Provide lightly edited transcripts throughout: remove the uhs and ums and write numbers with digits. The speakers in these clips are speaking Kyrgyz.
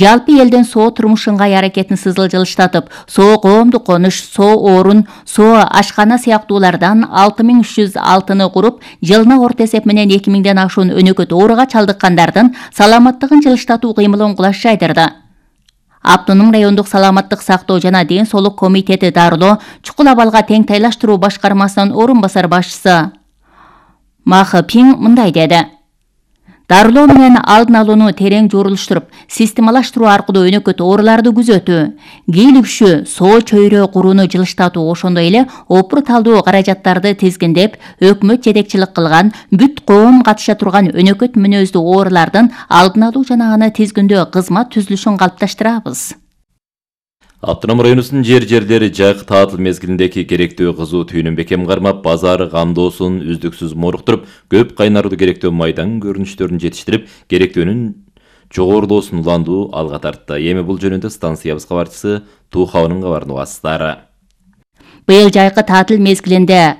Жалпы элдин соо турмушунгай аракетин сызылжылыштатып, соо коомдук конуш, соо орун, соо ашкана сыяктуулардан 6306-ны куруп, жылына орто эсеп менен 2000ден ашуун өнөкөт ооруга чалдыккандардын саламаттыгын жылыштатуу кыймылын кулаш жайдырды. Автоном райондук саламаттык сактоо жана ден соолук комитети дарылоо чукул абалга тең тайлаштыруу башкармасынын орун басар башчысы Ма Хапин мындай деди. Дарылоо менен алдын алууну терең журулуштуруп, системалаштыруу аркылуу өнөкөт ооруларды күзөтүү, кийлигишүү, соо чөйрө курууну жылыштатуу, ошондой эле опур талдуу каражаттарды тизгиндеп, өкмөт жетекчилик кылган бүт коом катыша турган өнөкөт мүнөздүү оорулардын алдын алуу жана аны тизгиндөө кызмат түзүлүшүн калыпташтырабыз. Автоном районунун жерлери жайкы таатыл мезгилиндеги керектүү кызуу түйүнүн бекем кармап, базары камдоосун үздүксүз моруктуруп, көп кайнарлуу керектүү майдан көрүнүштөрүн жетиштирип, керектөөнүн жогорулоосун уландуу алга тартты. Эми бул жөнүндө станциябыз кабарчысы Тухабынын кабарын угасыздар. Быйыл жайкы таатыл мезгилинде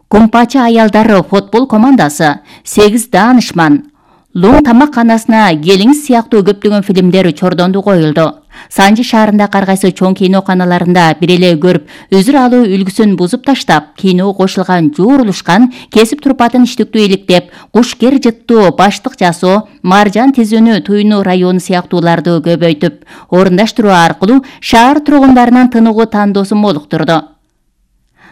Кумпачы аялдары футбол командасы, 8 даанышман, Луң тамакканасына келиңиз сыяктуу көптөгөн фильмдер чордонду коюлду. Санжы шаарында каргайсы чоң киноканаларында бир эле көрүп, өзүр алуу үлгүсүн бузуп таштап, кино кошулган, жуурулушкан, кесип турпатын иштиктүү иликтеп, кушкер жыттуу, баштык жасоо, маржан тизүүнү туйнуу району сыяктууларды көбөйтүп, орундаштыруу аркылуу шаар тургундарынын тыныгуу тандоосун молуктурду.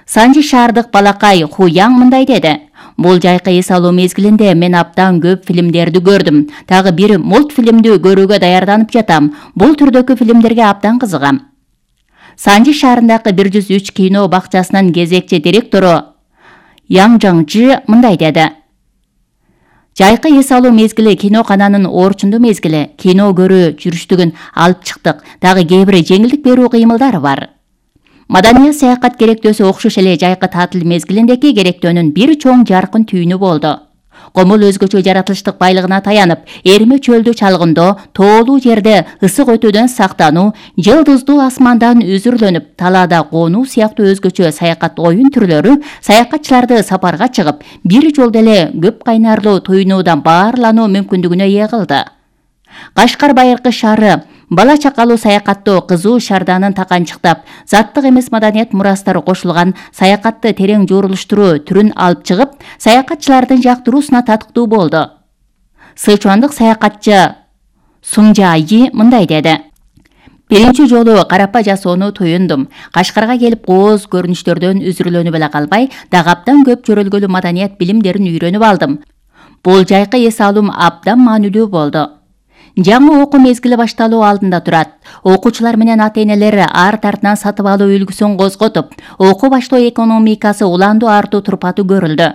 Санжы шаардык балакай Хуяң мындай деди. Бул жайкы эс алуу мезгилинде мен абдан көп фильмдерди көрдүм. Тагы бир мультфильмди көрүүгө даярданып жатам. Бул түрдөгү фильмдерге абдан кызыгам. Санжы шаарындагы 103 кино бакчасынын кезекчи директору Яң Жаңжы мындай деди. Жайкы эс алуу мезгили кинокананын орчундуу мезгили, кино көрүү жүрүштүгүн алып чыктык. Дагы кээ бир жеңилдик берүү кыймылдары бар. Маданият саякат керектөөсү окшош эле жайкы таатыл мезгилиндеги керектөөнүн бир чоң жаркын түйүнү болду. Комул өзгөчө жаратылыштык байлыгына таянып, эрме чөлдү чалгындоо, тоолуу жерде ысык өтүүдөн сактануу, жылдыздуу асмандан үзүрлөнүп, талаада конуу сыяктуу өзгөчө саякат оюн түрлөрү саякатчыларды сапарга чыгып, бир жолдо эле көп кайнарлуу туйнуудан баарлануу мүмкүндүгүнө ээ кылды. Кашкар байыркы шаары бала чакалуу саякаттоо кызуу шаарданын таканчыктап, заттык эмес маданият мурастары кошулган саякатты терең жуурулуштуруу түрүн алып чыгып, саякатчылардын жактыруусуна татыктуу болду. Сычуандык саякатчы Сунжайи мындай деди. Биринчи жолу карапа жасоону туюндум. Кашкарга келип кооз көрүнүштөрдөн үзүрлөнүп эле калбай, дагы абдан көп жөрөлгөлүү маданият билимдерин үйрөнүп алдым. Бул жайкы эс алуум абдан маанилүү болду. Жаңы окуу мезгили башталуу алдында турат. Окуучулар менен ата-энелер арт артынан сатып алуу үлгүсүн козготуп, окуу баштоо экономикасы уландуу артуу турпаты көрүлдү.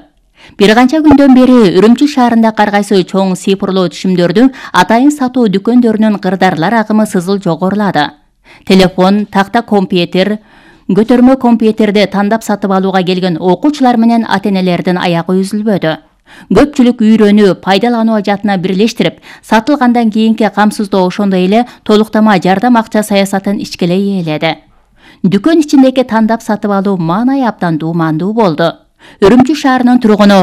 Бир канча күндөн бери Үрүмчү шаарында каргайсы чоң цифрлуу түшүмдөрдү атайын сатуу дүкөндөрүнүн кырдарлар агымы сызыл жогорулады. Телефон, такта компьютер, көтөрмө компьютерди тандап сатып алууга келген окуучулар менен ата-энелердин аягы үзүлбөдү. Көпчүлүк үйрөнүү, пайдалануу ажатына бирлештирип, сатылгандан кийинки камсыздоо ошондой эле толуктама жардам акча саясатын ичкелей ээледи. Дүкөн ичиндеги тандап сатып алуу маанай абдан дуумандуу болду. Үрүмчү шаарынын тургуну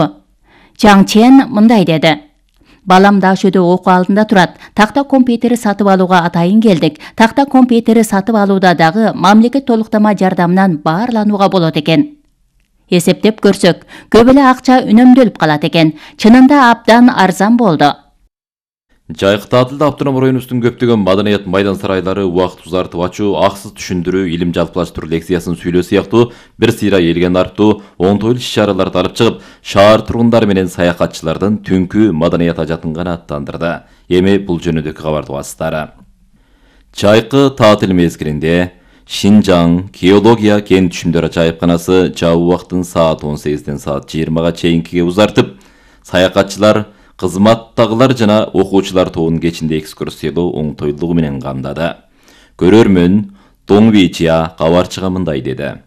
Чаң Чен мындай деди. Балам Дашөдө окуу алдында турат. Такта компьютери сатып алууга атайын келдик. Такта компьютери сатып алууда дагы мамлекет толуктама жардамынан баарланууга болот экен. Эсептеп көрсөк, көп эле акча үнөмдөлүп калат экен. Чынында абдан арзан болду. Жайкы таатылда автоном районубуздун көптөгөн маданият майдан сарайлары убакыт узартып ачуу, аксыз түшүндүрүү, илим жалпылаштыруу лекциясын сүйлөө сыяктуу бир сыйра элген артуу оңтойлуу иш-чараларды алып чыгып, шаар тургундары менен саякатчылардын түнкү маданият ажатын канааттандырды. Эми бул жөнүндөгү кабарды угасыздар. Жайкы таатыл мезгилинде Шинжаң геология кен түшүмдөр жайыпканасы жабуу убактын саат 18-ден саат 20-га чейинкиге узартып, саякатчылар, кызматтагылар жана окуучулар тобунун кечинде экскурсиялоо оңтойлугу менен камдады. Көрөрмөн Доңвичия кабарчыга мындай деди.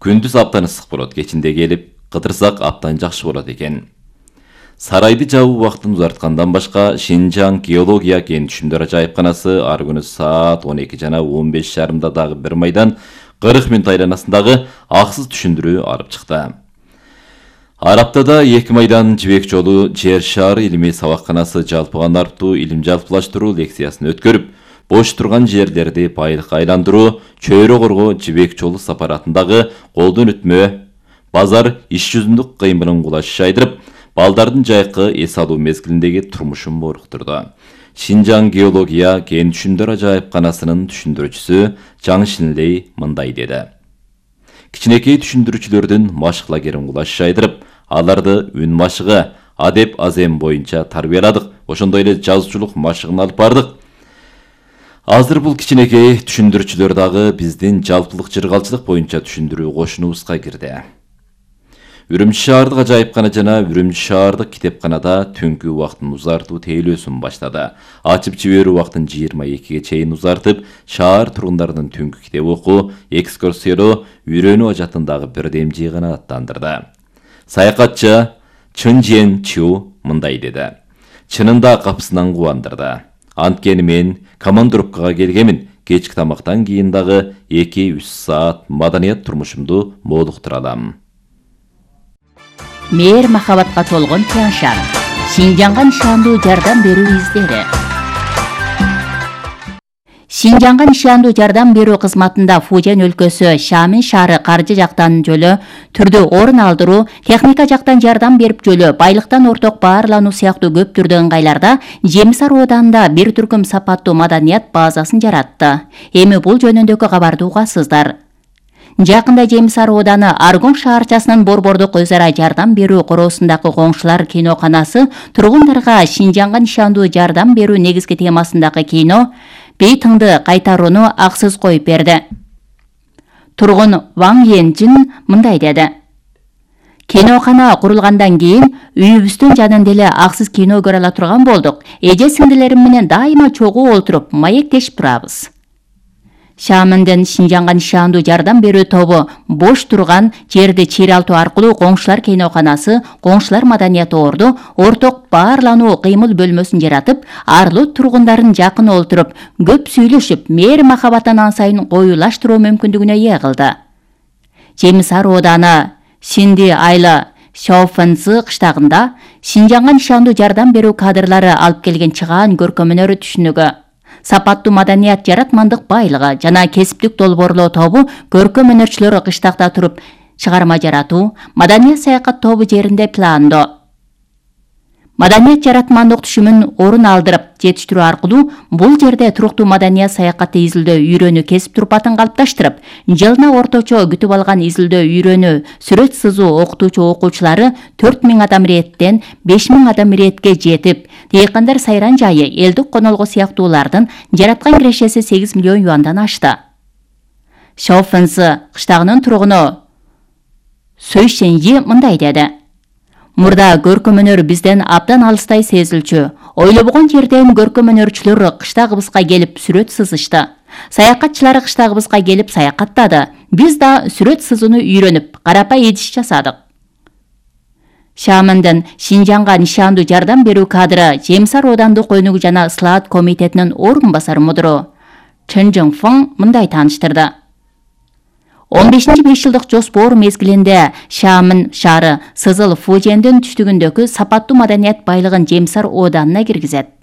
Күндүз абдан ысык болот, кечинде келип кыдырсак абдан жакшы болот экен. Сарайды жабуу убактын узарткандан башка Шинжаң геология кен түшүмдөр жайыпканасы ар күнү саат 12 жана 15:30 дагы бир майдан 40 мүнөт айланасындагы аксыз түшүндүрүү алып чыкты. Ар аптада 2 майдан жибек жолу жер шаары илимий сабакканасы жалпыга артуу илим жалпылаштыруу лекциясын өткөрүп, бош турган жерлерди байлыкка айландыруу, чөйрө коргоо жибек жолу сапаратындагы колдон өтмө, базар иш жүзүндүк кыймылын кулаш шайдырып, балдардын жайкы эс алуу мезгилиндеги турмушун боруктурду. Шинжаң геология кен түшүмдөр ажайыпканасынын түшүндүрүүчүсү Жаң Шинлей мындай деди. Кичинекей түшүндүрүүчүлөрдүн машык лагерин кулаш шайдырып, аларды үн машыгы, адеп азем боюнча тарбияладык, ошондой эле жазуучулук машыгын алып бардык. Азыр бул кичинекей түшүндүрүүчүлөр дагы биздин жалпылык жыргалчылык боюнча түшүндүрүү кошунубузга кирди. Үрүмчү шаардык ажайыпкана жана Үрүмчү шаардык китепканада түнкү убактын узартуу тейлөөсүн баштады. Ачып жиберүү убактын 22ге чейин узартып, шаар тургундарынын түнкү китеп окуу, экскурсиялоо, үйрөнүү ажатындагы бирдем жыйгана аттандырды. Саякатчы Чын Жен Чу мындай деди. Чынында капысынан кубандырды. Анткени мен командировкага келгемин. Кечки тамактан кийин дагы 2-3 саат маданият турмушумду молуктура алам. Мээр махабатка толгон Тяншан. Шинжаңга нишандуу жардам берүү издери. Шинжаңга нишандуу жардам берүү кызматында Фужен өлкөсү Шамин шаары каржы жактан жөлө түрдө орун алдыруу, техника жактан жардам берип жөлө байлыктан орток баарлануу сыяктуу көп түрдүү ыңгайларда Жемсар ооданында бир түркүм сапаттуу маданият базасын жаратты. Эми бул жөнүндөгү кабарды угасыздар. Жакында Жемсар ооданы Аргон шаарчасынын борбордук өз ара жардам берүү короосундагы коңшулар киноканасы тургундарга Шинжаңга нишандуу жардам берүү негизги темасындагы кино Бейтыңды кайтарууну аксыз коюп берди. Тургун Ваң Енжин мындай деди. Кинокана курулгандан кийин үйүбүздүн жанында эле аксыз кино көрө ала турган болдук. Эже сиңдилерим менен дайыма чогуу олтуруп маектешип турабыз. Шамындын Шинжаңга нишандуу жардам берүү тобу бош турган жерди чыйралтуу аркылуу коңшулар киноканасы, коңшулар маданияты орду орток баарлануу кыймыл бөлмөсүн жаратып, арлуу тургундарын жакын олтуруп, көп сүйлөшүп, мээр махабатын ансайын коюлаштыруу мүмкүндүгүнө ээ кылды. Жемсар ооданы Синди Айла Шауфенцы кыштагында Шинжаңга нишандуу жардам берүү кадрлары алып келген чыгаан көркөм өнөр түшүнүгү, сапаттуу маданият жаратмандык байлыгы жана кесиптик долбоорлоо тобу көркөм өнөрчүлөр кыштакта туруп чыгарма жаратуу, маданият саякат тобу жеринде пландоо, маданият жаратмандык түшүмүн орун алдырып жетиштирүү аркылуу бул жерде туруктуу маданият саякаты изилдөө үйрөнүү кесип турпатын калыпташтырып, жылына орточо күтүп алган изилдөө үйрөнүү сүрөт сызуу окутуучу окуучулары 4000 адам иреттен 5000 адам иретке жетип, Дейкандар сайран жайы, элдик конолго сыяктуулардын жараткан кирешеси 8 миллион юандан ашты. Шауфенцы кыштагынын тургуну Сөйшенжи мындай деди. Мурда көркөм өнөр бизден абдан алыстай сезилчү. Ойлобогон жерден көркөм өнөрчүлөр кыштагыбызга келип сүрөт сызышты. Саякатчылар кыштагыбызга келип саякаттады. Биз да сүрөт сызууну үйрөнүп, карапай идиш жасадык. Шамындын Шинжаңга нишандуу жардам берүү кадры Жемсар оодандык өнүгүү жана ыслаат комитетинин орун басар мудуру Чын Жыңфың мындай тааныштырды. 15-5 жылдык жоспор мезгилинде Шамын шаары Сызыл Фужендин түштүгүндөгү сапаттуу маданият байлыгын Жемсар ооданына киргизет.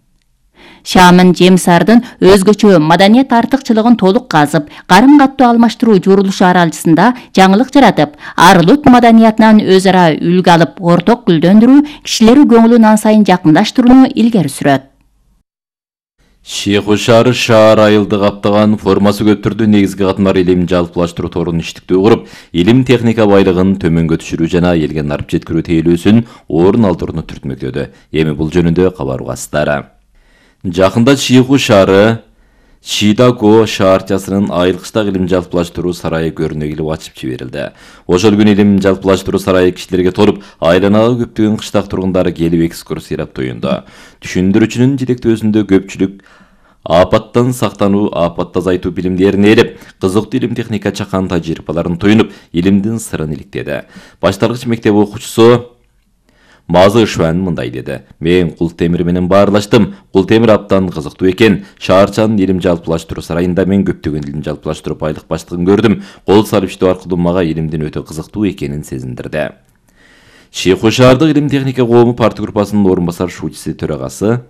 Шамын Жемсардын өзгөчө маданият артыкчылыгын толук казып, карым-каттуу алмаштыруу журулушу аралжысында жаңылык жаратып, арлут маданиятынан өз ара үлгү алып, орток гүлдөндүрүү, кишилери көңүлүн ансайын жакындаштырууну илгери сүрөт. Шейху шаары шаар айылды каптаган формасы көп түрдүү негизги катмар илим жалпылаштыруу торун иштиктүү куруп, илим техника байлыгын төмөнгө түшүрүү жана элге нарып жеткирүү тейлөөсүн орун алдырууну түртмөктөдү. Эми бул жөнүндө кабар угасыздар. Жакында Шейху шаары Шидаго шаарчасынын айылкычтагы илим жалпылаштыруу сарайы көрүнө келип ачып жиберилди. Ошол күнү илим жалпылаштыруу сарайы кишилерге толуп, айланага көптөгөн кыштак тургундары келип экскурсиялап тоюнду. Түшүндүрүүчүнүн жетектөөсүндө көпчүлүк апаттан сактануу, апатты азайтуу билимдерин ээлеп, кызыктуу илим техника чакан тажрыйбаларын тоюнуп, илимдин сырын иликтеди. Башталгыч мектеп окуучусу Мазы Шуан мындай деди. Мен кул темир менен баарлаштым. Кул темир абдан кызыктуу экен. Шаарчанын илим жалпылаштыруу сарайында мен көптөгөн илим жалпылаштыруу байлык баштыгын көрдүм. Кол салып иштөө аркылуу мага илимдин өтө кызыктуу экенин сезиндирди. Шейху шаардык илим техника коому парты группасынын орун басар шуучусу төрагасы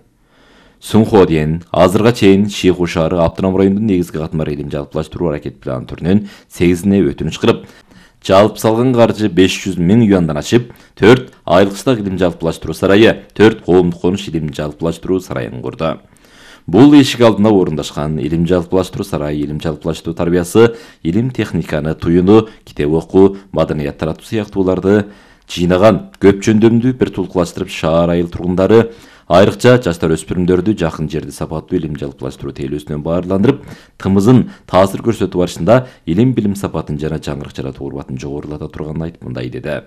Сунходен азырга чейин Шиху шаары автоном районунун негизги катмар илим жалпылаштыруу аракет планы түрүнөн 8-ине өтүнүч кылып, жалпы салган каржы 500 000 юандан ашып, 4 айылкычтык илим жалпылаштыруу сарайы, 4 коомдук конуш илим жалпылаштыруу сарайын курду. Бул эшик алдына орундашкан илим жалпылаштыруу сарайы илим жалпылаштыруу тарбиясы, илим техниканы туюну, китеп окуу, маданият таратуу сыяктууларды жыйнаган көп жөндөмдүү бир тулкулаштырып шаар айыл тургундары, айрыкча жаштар өспүрүмдөрдү жакын жерде сапаттуу илим жалпылаштыруу тейлөөсүнөн баарландырып, тымызын таасир көрсөтүү барышында илим билим сапатын жана жаңырык жаратуу урбатын жогорулата турганын айтып мындай деди.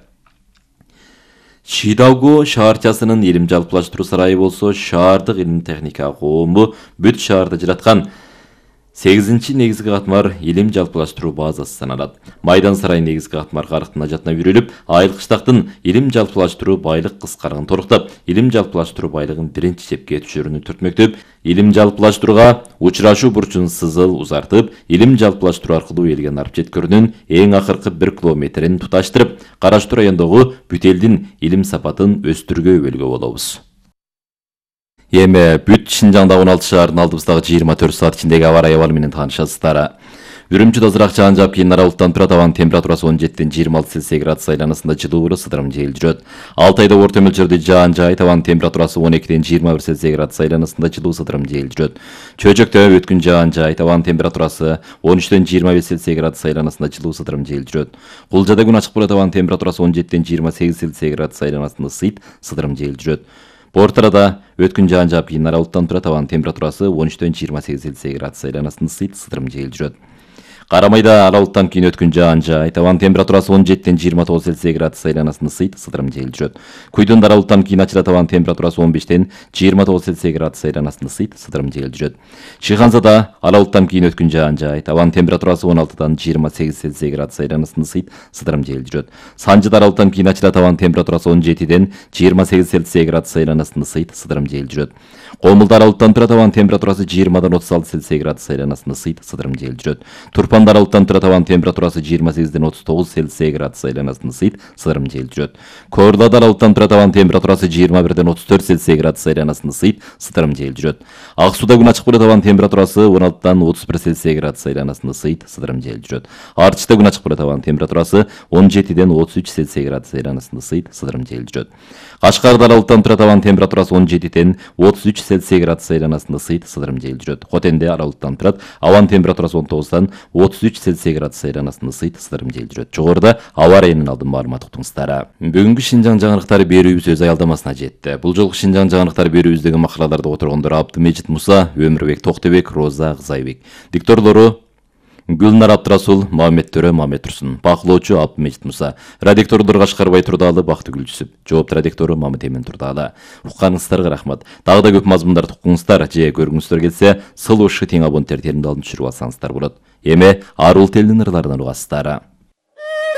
Шидауго шаарчасынын илим жалпылаштыруу сарайы болсо, шаардык илим техника коому бүт шаарда жараткан 8-чи негизги катмар илим жалпылаштыруу базасы саналат. Майдан сарай негизги катмар карыктын ажатына бүрүлүп, айылкычтактын илим жалпылаштыруу байлык кыскаргын торуктап, илим жалпылаштыруу байлыгын биринчи чепке түшүрүүнү түртмөктөп, илим жалпылаштырууга учурашуу бурчун сызыл узартып, илим жалпылаштыруу аркылуу элген арып жеткөрүүнүн эң акыркы 1 километрин туташтырып, Кара Чур районундагы бүт элдин илим сапатын өстүргө өбөлгө болобуз. Эми бүт Шинжаңдагы 16 шаардын алдыбыздагы 24 саат ичиндеги аба ырайы абалы менен таанышасыздар. Үрүмчүдө азыраак жаан жаап, кийин аралыктан турат. Абанын температурасы 17-ден 26 Цельсий градус айланасында жылуу сыдырым жел жүрөт. 6 айда орто мөлчөрдө жаан жаайт. Абанын температурасы 12-ден 21 Цельсий градус айланасында жылуу сыдырым жел жүрөт. Чөйчөктө өткүн жаан жаайт. Абанын температурасы 13-ден 25 Цельсий градус айланасында жылуу сыдырым жел жүрөт. Кулжада күн ачык болот. Абанын температурасы 17-ден 28 Цельсий градус айланасында сыдырым жел жүрөт. Бортарада өткүн жаан жаап, кийин аралыктан турат. Абанын температурасы 13-ден 28 Цельсий градус айланасында сыдырым жел жүрөт. Карамайда аралыктан кийин өткүн жаан жаайт. Абанын температурасы 17-ден 29 Цельсий градус айланасында сыдырым жел жүрөт. Куйдун аралыктан кийин ачылат. Абанын температурасы 15-ден 29 Цельсий градус айланасында сыдырым жел жүрөт. Шыханзада аралыктан кийин өткүн жаан жаайт. Абанын температурасы 16-дан 28 Цельсий градус айланасында сыдырым жел жүрөт. Санжыда аралыктан кийин ачылат. Абанын температурасы 17-ден 28 Цельсий градус айланасында сыдырым жел жүрөт. Комулда аралыктан турат. Абанын температурасы 20-дан 36 Цельсий градус айланасында сыдырым жел жүрөт. Турпанда аралыктан турат. Абанын температурасы 28-ден 39 Цельсий градус айланасында сыдырым жел жүрөт. Коорлада аралыктан турат. Абанын температурасы 21-ден 34 Цельсий градус айланасында сыдырым жел жүрөт. Ак сууда күн ачык болот. Абанын температурасы 16-дан 31 Цельсий градус айланасында сыдырым жел жүрөт. Арчыда күн ачык болот. Абанын температурасы 17-ден 33 Цельсий градус айланасында сыдырым жел жүрөт. Кашкарда аралыктан турат. Абанын температурасы 17-ден 33 Цельсий градус айланасында сыдырым жел жүрөт. Хотенде аралыктан турат. Абанын температурасы 19-дан 33 Цельсий градус айланасында сыдырым жел жүрөт. Жогоруда аба ырайынын алдын маалымат уктуңуздар. Бүгүнкү Шинжаң жаңырыктары берүүбүз өз аялдамасына жетти. Бул жолку Шинжаң жаңырыктары берүүбүздөгү макалаларды которгондор Абдымежит Муса, Өмүрбек Токтобек, Роза Кызайбек. Дикторлору Гүлнар Абдрасул, Мамет Төрө, Мамет Турсун. Бакылоочу Абдымежит Муса. Радиктордор Кашкарбай Турдаалы, Бактыгүл Жүсүп. Жоопту радиктору Мамет Эмин Турдаалы. Укканыңыздарга рахмат. Дагы да көп мазмундарды укуңуздар же көргүңүздөр келсе, сылуу тең абоненттер теринде алып түшүрүп алсаңыздар болот. Эми арул телдин ырларынан угасыздар.